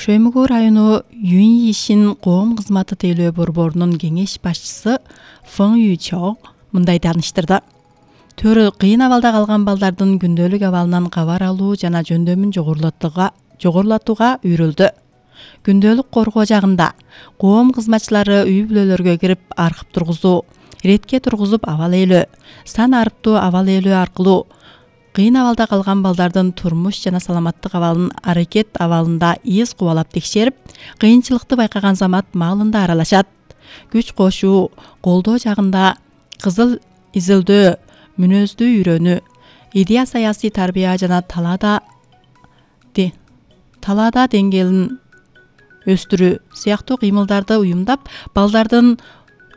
Шөймөгөө району Юнь ишин коом кызматы тейлөө борборунун кеңеш башчысы Фэн Юйчо мындай тааныштырды. Төрү кыйын абалда калган балдардын күндөлүк абалынан кабар алуу жана жөндөмүн жогорулатууга үйрөлдү. Күндөлүк коргоо жагында коом кызматчылары үй бүлөлөргө кирип аркып тургузуу, иретке тургузуп абал ээлөө, сан арыптуу абал ээлөө аркылуу кыйын абалда калган балдардын турмуш жана саламаттык абалын аракет абалында из кубалап текшерип, кыйынчылыкты байкаган замат маалында аралашат. Күч кошуу, колдоо жагында кызыл изилдөө, мүнөздү үйрөнүү, идея саясий тарбия жана талаада деңгээлин өстүрүү сыяктуу кыймылдарды уюмдап, балдардын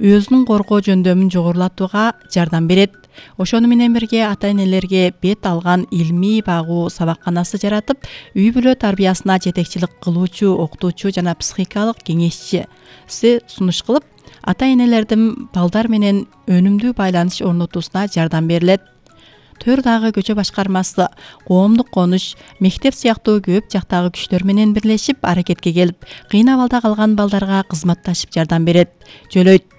өзүнүн коргоо жөндөмүн жогорулатууга жардам берет. Ошону менен бирге ата-энелерге бет алган илмий багуу сабакканасы жаратып, үй бүлө тарбиясына жетекчилик кылуучу окутуучу жана психикалык кеңешчиси сунуш кылып, ата-энелердин балдар менен өнүмдүү байланыш орнотуусуна жардам берилет. Төр дагы көчө башкармасы, коомдук конуш, мектеп сыяктуу көп жактагы күчтөр менен бирлешип аракетке келип, кыйын абалда калган балдарга кызматташып жардам берет, жөлөйт.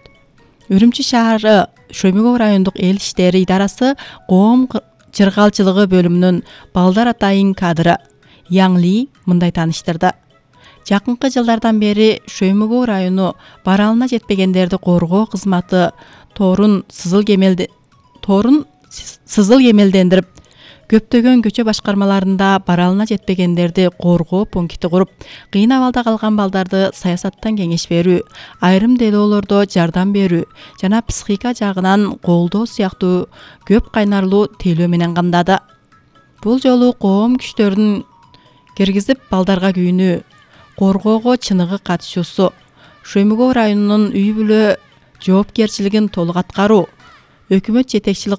Үрүмчү шаары Шөймөгөө райондук эл иштери идарасы коом чыргалчылыгы бөлүмүнүн балдар атайын кадры Яң Ли мындай тааныштырды. Жакынкы жылдардан бери Шөймөгөө району баралына жетпегендерди коргоо кызматы торун сызыл кемелдендирип, көптөгөн көчө башкармаларында баралына жетпегендерди коргоо пункти куруп, кыйын абалда калган балдарды саясаттан кеңеш берүү, айрым делоолордо жардам берүү жана психика жагынан колдоо сыяктуу көп кайнарлуу тейлөө менен камдады. Бул жолу коом күчтөрүн киргизип балдарга күйүнүү, коргоого чыныгы катышуусу, Шөймөгөө районунун үй бүлө жоопкерчилигин толук аткаруу, өкмөт жетекчилик